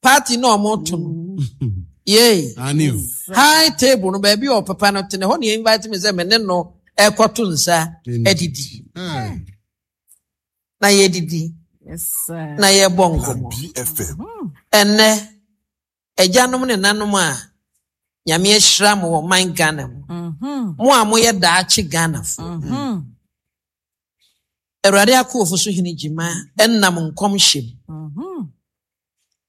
Party na ɔmo to no. Yay. High table no baabi a ɔpapa no te no hɔ na invite me sɛ me ne no ɛkɔto nsa adidi. Na yɛdidi. Na yɛbɔ nkɔmmɔ. Ɛnnɛ agyanom ne nanom a Nyame ahyira mo wɔ man Ghana mu. Mm-hmm. Mo a moyɛ daakye Ghanafo. Mm-hmm. Awurade akoofo so hene gyima ɛnam nkɔmhyɛ mu. Mm-hmm.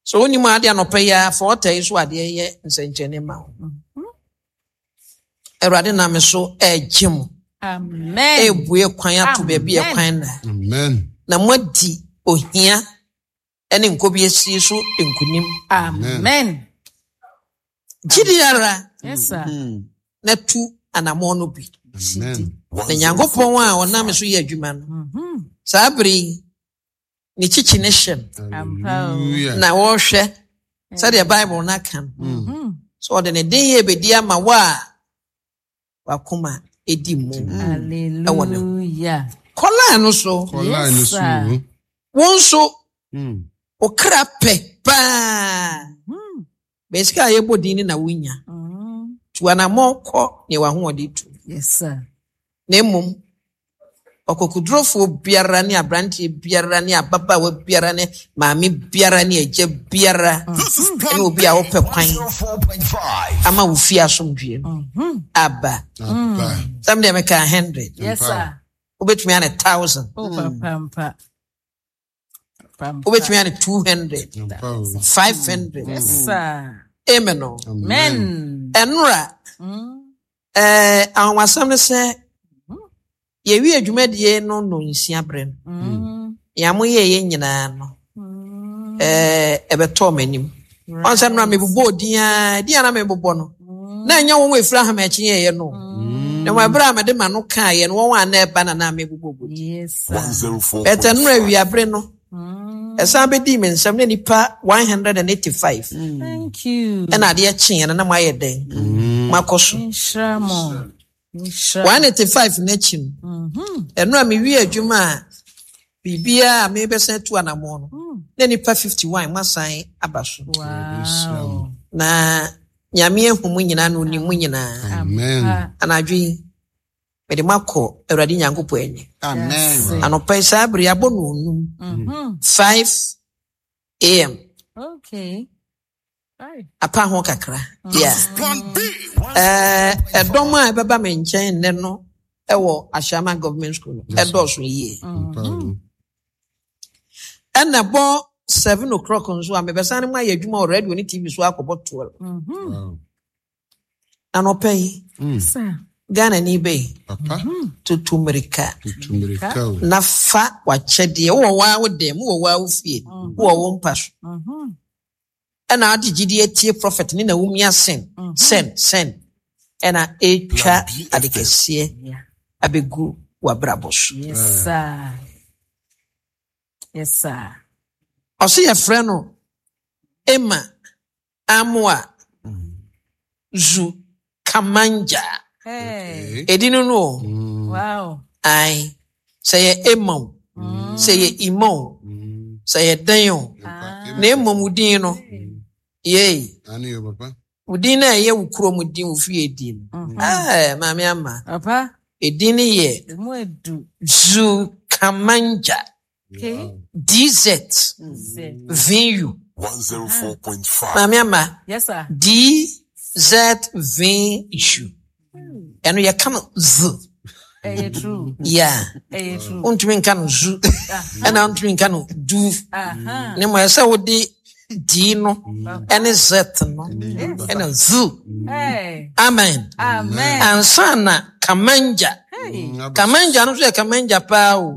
So wonim ade anɔpa yi ara fa ɔta yi so adeɛ yɛ nsɛnkyerɛnne ma wo. Awurade nam so ɛregye mo. Amen. Ɛrebue kwan ato baabi a kwan na. Amen. Na moadi ohia ne nkobiesie so nkonim. Amen. Gyidi ara Yes, sir. na tu anammɔn no bi. Na Nyankopɔn a ɔnam so yɛ adwuma no, saa bere yi, ne kyikyi ne hyɛ no. Na wɔrehwɛ sɛdeɛ Bible no aka no. Sɛ ɔde ne den yɛ bɛdi ama wo a wakoma di mu wɔ ne ho. Kɔlaa no so. Wo nso wo kra pɛ paa. Bɛsika a yɛbɔ din no na wonya. Tu anammɔn kɔ nea w'ahoɔden tu. Na mmom ɔkokodurofoɔ biara ne aberanteɛ biara ne ababaawa biara ne maame biara ne agya biara ne obi a wopɛ kwan ama wo fie asomdwoeɛ no aba. Sɛm deɛ meka 100. Wobɛtumi ane 1000. Wobɛtumi ane 200. 500. Amen o. Ɛnora ahomasɛm no sɛ yɛwie dwumadie no nnɔnsia berɛ no, nea moyɛeɛ nyinaa no, ɛbɛtɔɔ m'anim. Ɔn sɛ nnora mebobɔɔ din ara, din a na mebobɔ no, na ɛnyɛ wɔn a ɛfiri ahamakye yɛeɛ no. Na wɔn ɛberɛ a mede m'ano kaeɛ no, wɔn a na ɛba na na mebobɔ din. Ɛtɛ nnora awiabere no, ɛsan bɛdii me nsam na nnipa 185 ɛna adeɛ kyeeɛ no na moayɛ dɛn moakɔ so. 185 no akyi no, ɛno a mewie adwuma a biribiara a mebɛsan atu anammɔn no, na nnipa 51 moasan aba so. Na Nyame ahu mo nyinaa na onim mo nyinaa. Anadwo yi, mede mo akɔ Awurade Nyankopɔn anim. Anɔpa yi saa bere abɔ no onum, 5 am. Okay. Apa ho kakra. Yeah. Ɛdɔm a ɛbɛba me nkyɛn nnɛ no ɛwɔ Ashaiman Government School no ɛdɔɔso yie. Ɛna ɛbɔ 7 o'clock nso a mebɛsan no mu ayɛ adwuma wɔ radio ne TV so akɔbɔ 12. Anɔpa yi, Ghana ni bɛyi tutu mmirika na fa w'akyɛdeɛ. Wowɔ waa wo dɛm, wowɔ waa wo fie, wowɔ wo mpa so. Ɛna ade gyidi atie prophet ne na wumia sen sen sen ɛna ɛtwa ade kɛseɛ abɛgu w'abrabɔ so. Yes, sir. Yes, sir. Ɔso yɛfrɛ no Emma Amoa Zu Kamanja. Hey. Ɛdi no no o. Wow. Ae. Sɛ yɛ Emma o, sɛ yɛ Ima o, sɛ yɛ dɛn o. Na mmom wo din no, yei. Wo din no a ɛyɛ wo kurom din, wo fie din. Ɛɛ, Maame Ama. Papa. Edin no yɛ Emu edu. Zu Kamanja. Okay. DZ Z. VU. 104.5. Maame Ama. Yes, sir. DZVU. Ɛno yɛka no Z. Ɛyɛ true. Yeah. Ɛyɛ true. Wontumi nka no zu. Ɛna wontumi nka no du. Aha. Ne mmom ɛsɛ wode D no ɛne Z no ɛna Z. Hey. Amen. Amen. Ansa na Kamanja. Hey. Kamanja no nso yɛ Kamanja paa o.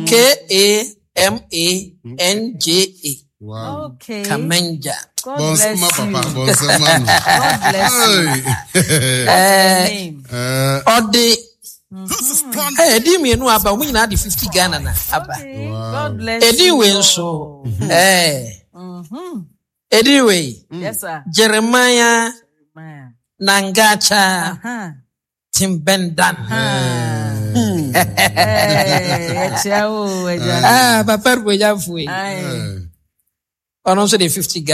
K A M A N J A. Wow. Okay. Kamanja. God bless Bonsama you. papa, bonsama no. God bless you. Hey. Name. Ɔde ɛdi mmienu aba, wɔn nyinaa de 50 Ghana na aba. Okay. Wow. God bless Ɛdi you. wei nso. Ɛdi wei. Yes, sir. Jeremiah Man. Nangacha Timbendan. Hey, ɛkyia wo, agya. Ah, papa Rubonyafo yi. Aye. Ɔno nso de 50 Ghana.